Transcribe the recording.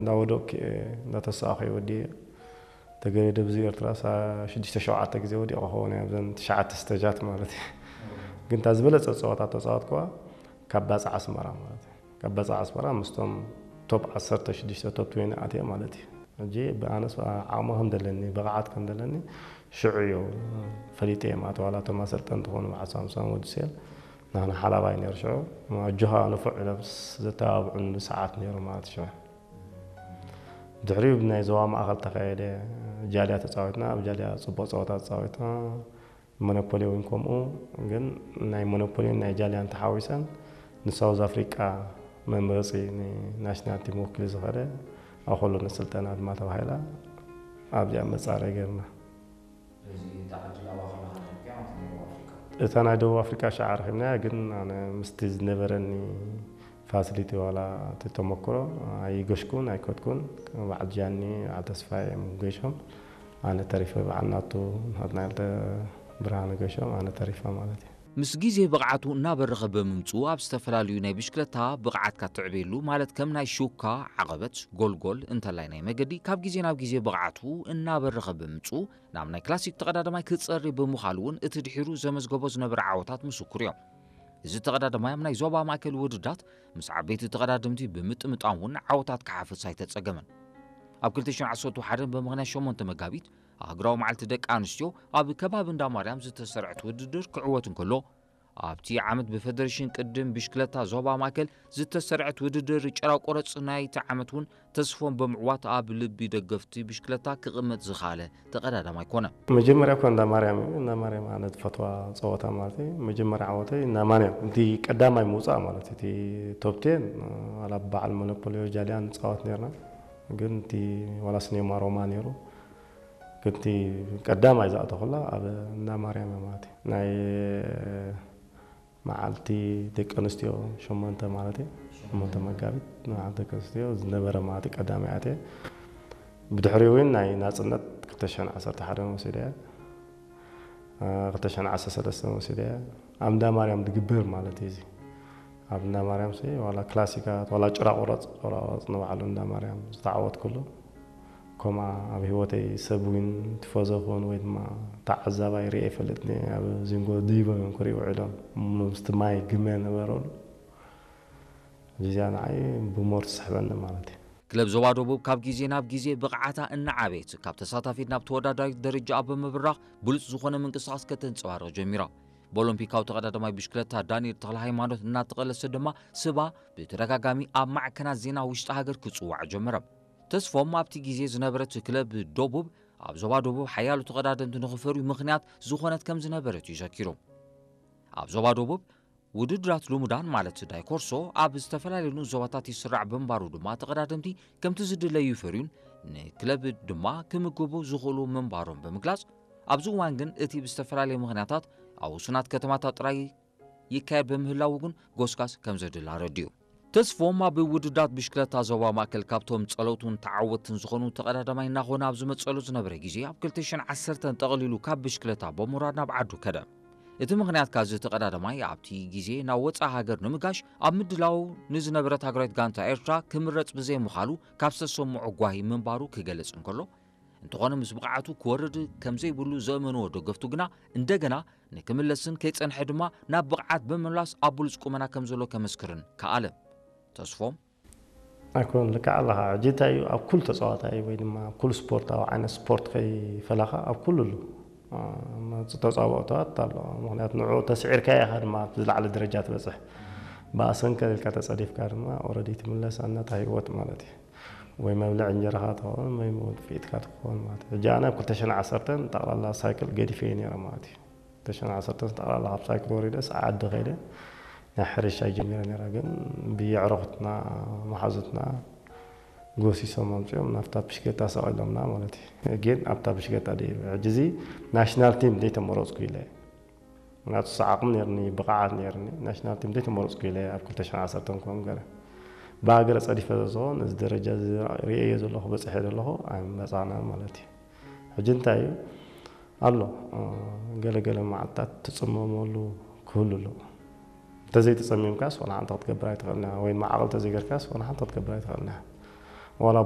እንዳወደቅኩ እየ፣ እንዳተሳእኹ እየ ወዲየ። ተገሬደ ብዚ ኤርትራ ሳ ሽዱሽተ ሸውዓተ ግዜ ወዲቐ ክኸውን እየ ኣብዘን ትሽዓተ ስተጃት ማለት እዩ። ግን እታ ዝበለጸ ጸወታ ተጻወትኩዋ ካብ ባጽዕ ኣስመራ ማለት እዩ። ካብ ባጽዕ ኣስመራ ምስቶም ቶፕ ዓሰርተ ሽዱሽተ ቶፕ ትዌንቲ ኣትየ ማለት እዩ። ሕጂ ብኣነስ ዓቕሚ ከም ዘለኒ፣ ብቕዓት ከም ዘለኒ ሽዑ እዩ ፈሊጠ እየ ማለት። ዋላ እቶም ኣሰልጠንቲ ዝኾኑ ብሓሳብ ምሳም ወዲ ሴል ናህና ሓላባይ ነይሩ ሽዑ። ኣጆኻ ንፉዕ ኢሎም ዘተባብዑን ብሰዓት ነይሩ ማለት ሽዑ። ድሕሪኡ ናይ ዞባ ማእኸል ተኻየደ። ጃልያ ተጻዊትና፣ ኣብ ጃልያ ጽቡቕ ጸወታ ተጻዊትና። ሞኖፖሊ እውን ከምኡ፣ ግን ናይ ሞኖፖሊን ናይ ጃልያን ተሓዊሰን ንሳውዝ ኣፍሪቃ መምረፂ ንናሽናል ቲም ወኪሉ ዝኸደ ኣኮሎ ንስልጠና ድማ ተባሂላ ኣብዚኣ መጻረይ ገርና። እታ ናይ ደቡብ ኣፍሪቃ ሻዓ ረኺብናያ፣ ግን ኣነ ምስቲ ዝነበረኒ ፋሲሊቲ ዋላ እቲ ተመክሮ ኣይገሽኩን ኣይከድኩን። በዓል ጃኒ፣ በዓል ተስፋ እዮም ገሾም፣ ኣነ ተሪፈ። በዓል ናቱ ናትናኤል ተ-፣ ብርሃነ ገሾም፣ ኣነ ተሪፈ ማለት እዩ። ምስ ግዜ ብቕዓቱ እናበረኸ ብምምጽኡ ኣብ ዝተፈላለዩ ናይ ብሽክለታ ብቕዓትካ ትዕበየሉ፣ ማለት ከም ናይ ሹካ፣ ዓቐበት፣ ጎልጎል እንተላይ ናይ መገዲ ካብ ግዜ ናብ ግዜ ብቕዓቱ እናበረኸ ብምምጽኡ ናብ ናይ ክላሲክ ተቐዳዳማይ ክጸሪ ብምዃሉ እውን እቲ ድሒሩ ዘመዝገቦ ዝነበረ ዓወታት ምስኩር እዮም። እዚ ተቐዳዳማይ ኣብ ናይ ዞባ ማእከል ውድዳት ምስ ዓበይቲ ተቐዳደምቲ ብምጥምጣም እውን ዓወታት ክሓፍስ ኣይተጸገመን። ኣብ ክልተ ሽሕን ዓሰርተ ሓደን ብምኽንያት ሸሞንተ መጋቢት ኣህጉራዊ መዓልቲ ደቂ ኣንስትዮ ኣብ ከባቢ እንዳ ማርያም ዝተሰርዐት ውድድር ክዕወት እንከሎ ኣብቲ ዓመት ብፈደሬሽን ቅድም ብሽክለታ ዞባ ማእከል ዝተሰርዐት ውድድር ጭራ ቆረጽ ናይቲ ዓመት እውን ተስፎም ብምዕዋት ኣብ ልቢ ደገፍቲ ብሽክለታ ክቕመጥ ዝኸኣለ ተቐዳዳማይ ኮነ። መጀመርያ እኳ እንዳ ማርያም እዩ። እንዳ ማርያም ኣነ ዝፈትዋ ጸወታ ማለት እዩ። መጀመርያ ዓወተይ እንዳ ማርያም፣ እቲ ቀዳማይ ምውጻእ ማለት እዩ። እቲ ቶፕ ቴን፣ ዋላ በዓል ሞኖፖሊዮ ጃልያን ንጻወት ነርና። ግን እቲ ዋላ ስኔማ ሮማ ነይሩ። ግን እቲ ቀዳማይ ዝኣተኹላ ኣብ እንዳ ማርያም እያ ማለት እዩ። ናይ መዓልቲ ደቂ ኣንስትዮ ሸሞንተ ማለት እዩ። ሸሞንተ መጋቢት መዓልቲ ደቂ ኣንስትዮ ዝነበረ ማለት እዩ። ቀዳማይ ኣትየ። ብድሕሪኡ እውን ናይ ናጽነት ክልተ ሽሕን ዓሰርተ ሓደን ወሲደ እየ። እ፣ ክልተ ሽሕን ዓሰርተ ሰለስተን ወሲደ እየ። ኣብ እንዳ ማርያም ዝግበር ማለት እዩ እዚ። ኣብ እንዳ ማርያም ሲ ዋላ ክላሲካት፣ ዋላ ጭራ ቁረጽ፣ ቁረጽ ንባዕሉ እንዳ ማርያም ዝተዓወትኩሉ። ከምኣ ኣብ ህይወተይ ሰብ ዊን ቲፎዞ ክውን ወይ ድማ ተዓዛባይ ሪኤ ይፈልጥኒ። ኣብ ዚንጎ ደይቦም እዮም ክሪኡ ውዒሎም። ምስቲ ማይ ግመ ነበረሉ። እዚኣ ንዓይ ብሞር ትስሕበኒ ማለት እዩ። ክለብ ዞባ ደቡብ ካብ ግዜ ናብ ግዜ ብቕዓታ እናዓበየት፣ ካብ ተሳታፊት ናብ ተወዳዳሪት ደረጃኣ ብምብራኽ ብሉጽ ዝኾነ ምንቅስቓስ ከተንጸባርቕ ጀሚራ። ብኦሎምፒካዊ ተቐዳዳማይ ብሽክለታ ዳንኤል ተኽለ ሃይማኖት እናተቐለሰ ድማ ስባ ብተደጋጋሚ ኣብ ማዕከናት ዜና ውሽጢ ሃገር ክጽዋዕ ጀመረ። ተስፎም ኣብቲ ግዜ ዝነበረት ክለብ ደቡብ ኣብ ዞባ ደቡብ ሓያሎ ተቐዳደምቲ ንኽፈርዩ ምኽንያት ዝኾነት ከም ዝነበረት እዩ ዘኪሩ። ኣብ ዞባ ደቡብ ውድድራት ልሙዳን ማለት ዳይ ኮርሶ ኣብ ዝተፈላለዩ ንኡስ ዞባታት ይስራዕ ብምንባሩ ድማ ተቐዳደምቲ ከምቲ ዝድለዩ ይፈርዩን ንክለብ ድማ ክምግቡ ዝኽእሉ ምንባሮም ብምግላጽ ኣብዚ እዋን ግን እቲ ብዝተፈላለየ ምኽንያታት ኣብ ውሱናት ከተማታት ጥራይ ይካየድ ብምህላዉ ግን ጎስጋስ ከም ዘድሊ ኣረዲኡ። ተስፎም ኣብ ውድድራት ብሽክለታ ዞባ ማእከል ካብቶም ጸለውቱን ተዓወትትን ዝኾኑ ተቐዳዳማይ እናኾነ ኣብ ዝመጸሉ ዝነበረ ግዜ ኣብ ክልተ ሽሕን ዓሰርተን ጠቕሊሉ ካብ ብሽክለታ ብምውራድ ናብ ዓዱ ከደ። እቲ ምኽንያት ካዚ ተቐዳዳማይ ኣብቲ ግዜ ናብ ወጻኢ ሃገር ንምጋሽ ኣብ ምድላው ንዝነበረት ሃገራዊት ጋንታ ኤርትራ ክምረጽ ብዘይምኻሉ ካብ ዝተሰምዖ ጓሂ ምንባሩ ክገልጽ እንከሎ፣ እንተኾነ ምስ ብቕዓቱ ክወርድ ከም ዘይብሉ ዘእመንዎ ደገፍቱ ግና እንደገና ንክምለስን ከይጸንሐ ድማ ናብ ብቕዓት ብምምላስ ኣብ ብሉጽ ቁመና ከም ዘሎ ከመስክርን ከኣለ። ተስፎም ኣይኮን ልክዕ ኣለኻ። ሕጂ እንታይ እዩ ኣብ ኩሉ ተጻዋታይ ወይ ድማ ኣብ ኩሉ ስፖርታዊ ዓይነት ስፖርት ከይፈላኻ ኣብ ኩሉ ኣሎ። እ፣ ተጻብኦታት ኣሎ። ምኽንያቱ ንዕኡ ተስዒርካዮ ኢኻ ድማ ኣብ ዝለዓለ ደረጃ ትበጽሕ። ብኣሰንከ ኢልካ ተጸዲፍካ ድማ ኦረዲ ትምለስ ኣነታ ህይወት ማለት እዩ። ወይ መብልዕ እንጀራኻ ትኸውን ወይ መውጥፊእትካ ትኸውን ማለት እዩ። ሕጂ ኣነ ኣብ ክልተ ሽሕን ዓሰርተን ጠቕላላ ሳይክል ገዲፈ እየ ነይረ ማለት እዩ። ክልተ ሽሕን ዓሰርተን ጠቕላላ ካብ ሳይክል ወሪደ ሰዓ ዓዲ ከይደ ናይ ሕርሻ ጀሚረ ነይረ። ግን ብየዕሩኽትና መሓዙትና ጎሲሶም ኣምጺኦም ናብታ ብሽክሌታ ሰቒሎምና ማለት እዩ። ግን ኣብታ ብሽክሌታ ደይበ። ሕጂ እዚ ናሽናል ቲም ዘይተመረጽኩ ኢለ። ምክንያቱ ዓቕሚ ነይርኒ፣ ብቕዓት ነይርኒ። ናሽናል ቲም ዘይተመረጽኩ ኢለ ኣብ ክልተ ሽሕን ዓሰርተን ከም ገለ ብሃገረ ጸዲፈ ዝኾን እዚ ደረጃ እዚ ርእየዮ ዘለኹ፣ በጺሐ ዘለኹ ኣይምበጻዕናን ማለት እዩ። ሕጂ እንታይ እዩ ኣሎ፣ እ፣ ገለ ገለ መዓልታት ትጽመመሉ ክህሉ ኣሎ። እንተዘይተጸሚምካስ ዋላ ሓንቲ ክትገብር ኣይትኽእልን ኢኻ፣ ወይ ድማ ዓቕሊ እንተዘይገርካስ ዋላ ሓንቲ ክትገብር ኣይትኽእልን ኢኻ። ዋላ